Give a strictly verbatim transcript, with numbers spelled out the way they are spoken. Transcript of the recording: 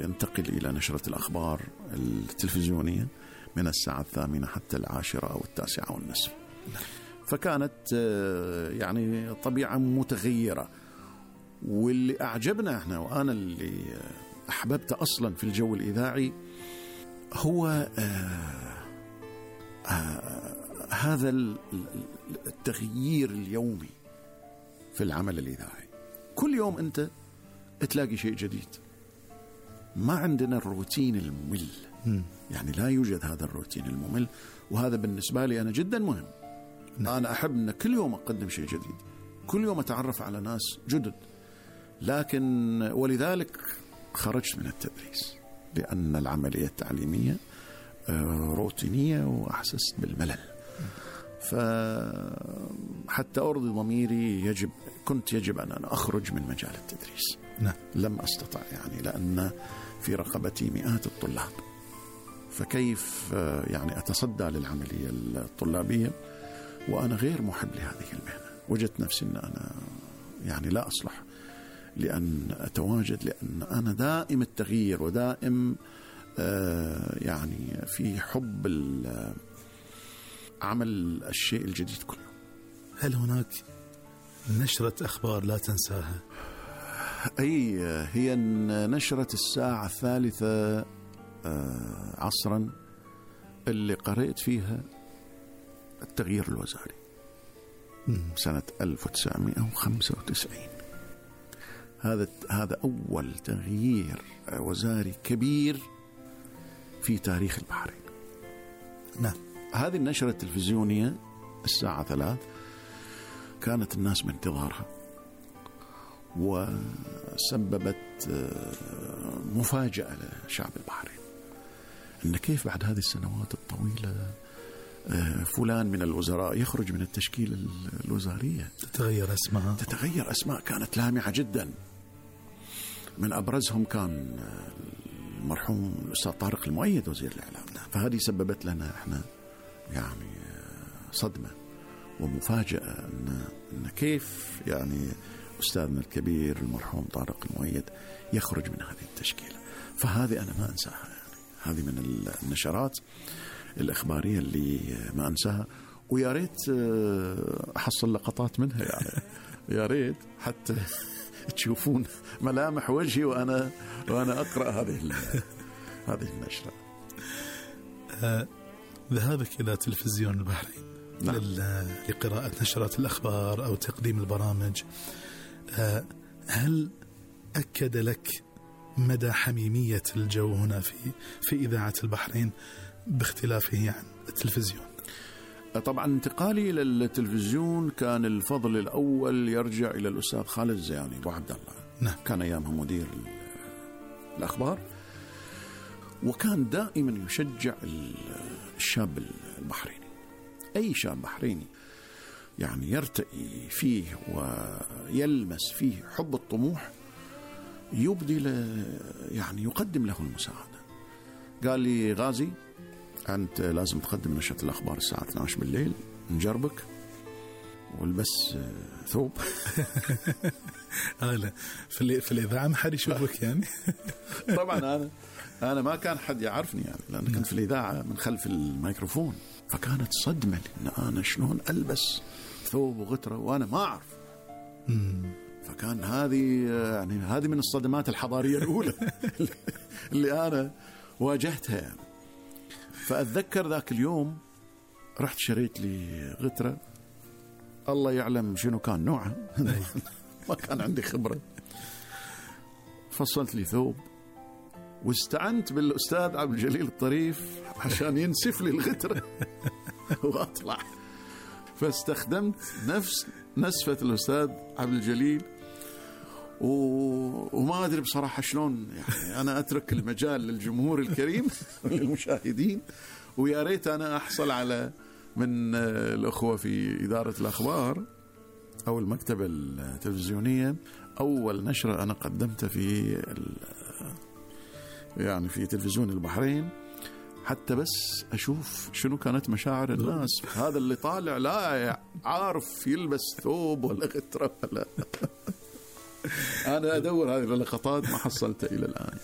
ينتقل إلى نشرة الأخبار التلفزيونية من الساعة الثامنة حتى العاشرة أو التاسعة والنصف. فكانت يعني طبيعة متغيرة، واللي أعجبنا إحنا وأنا اللي أحببت أصلا في الجو الإذاعي هو آه آه هذا التغيير اليومي في العمل الإذاعي. كل يوم أنت تلاقي شيء جديد، ما عندنا الروتين الممل. م. يعني لا يوجد هذا الروتين الممل، وهذا بالنسبة لي أنا جدا مهم. م. أنا أحب أن كل يوم أقدم شيء جديد، كل يوم أتعرف على ناس جدد. لكن ولذلك خرجت من التدريس، لأن العملية التعليمية روتينية وأحسست بالملل. فحتى أرضي ضميري يجب كنت يجب أن أنا أخرج من مجال التدريس. نعم. لم أستطع، يعني لأن في رقبتي مئات الطلاب، فكيف يعني أتصدى للعملية الطلابية وأنا غير محب لهذه المهنة؟ وجدت نفسي أن أنا يعني لا أصلح لأن أتواجد، لأن أنا دائم التغيير ودائم آه يعني في حب عمل الشيء الجديد كله. هل هناك نشرة أخبار لا تنساها؟ أي هي نشرة الساعة الثالثة آه عصرا اللي قرأت فيها التغيير الوزاري سنة ألف وتسعمائة وخمسة وتسعين. هذا هذا أول تغيير وزاري كبير في تاريخ البحرين. نعم. هذه النشرة التلفزيونية الساعة ثلاث كانت الناس بانتظارها، وسببت مفاجأة لشعب البحرين، إن كيف بعد هذه السنوات الطويلة فلان من الوزراء يخرج من التشكيلة الوزارية. تتغير أسماء تتغير أسماء كانت لامعة جدا. من أبرزهم كان المرحوم الأستاذ طارق المؤيد وزير الإعلام. فهذه سببت لنا إحنا يعني صدمة ومفاجأة إن, إن كيف يعني أستاذنا الكبير المرحوم طارق المؤيد يخرج من هذه التشكيلة. فهذه أنا ما أنساها، يعني هذه من النشرات الإخبارية اللي ما أنساها، ويا ريت أحصل لقطات منها، يعني يا ريت حتى تشوفون ملامح وجهي وأنا وأنا أقرأ هذه هذه النشرة. آه، ذهابك إلى تلفزيون البحرين نعم. لقراءة نشرات الأخبار أو تقديم البرامج، آه، هل أكد لك مدى حميمية الجو هنا في في إذاعة البحرين باختلافه عن التلفزيون؟ طبعا انتقالي إلى التلفزيون كان الفضل الأول يرجع إلى الأستاذ خالد الزياني أبو عبد الله. نعم. كان أيامها مدير الأخبار، وكان دائما يشجع الشاب البحريني، أي شاب بحريني يعني يرتقي فيه ويلمس فيه حب الطموح يبدي له، يعني يقدم له المساعدة. قال لي غازي أنت لازم تقدم نشرة الأخبار الساعة اثنتي عشرة بالليل، نجربك والبس ثوب. أنا في في الإذاعة ما حد يشوفك يعني. طبعا أنا أنا ما كان حد يعرفني، يعني لأن كنت في الإذاعة من خلف الميكروفون، فكانت صدمة إن أنا شلون ألبس ثوب وغترة وأنا ما أعرف. فكان هذه يعني هذه من الصدمات الحضارية الأولى اللي أنا واجهتها يعني. فأتذكر ذاك اليوم رحت شريت لي غترة، الله يعلم شنو كان نوعها. ما كان عندي خبرة. فصلت لي ثوب واستعنت بالأستاذ عبد الجليل الطريف عشان ينسف لي الغترة وأطلع. فاستخدمت نفس نسفة الأستاذ عبد الجليل، و... وما أدري بصراحة شلون، يعني أنا أترك المجال للجمهور الكريم للمشاهدين، ويا ريت أنا أحصل على من الأخوة في إدارة الأخبار أو المكتبة التلفزيونية أول نشرة أنا قدمتها في ال... يعني في تلفزيون البحرين، حتى بس أشوف شنو كانت مشاعر الناس. هذا اللي طالع لا عارف يلبس ثوب ولا غترة ولا أنا أدور هذه اللقطات ما حصلتها إلى الآن.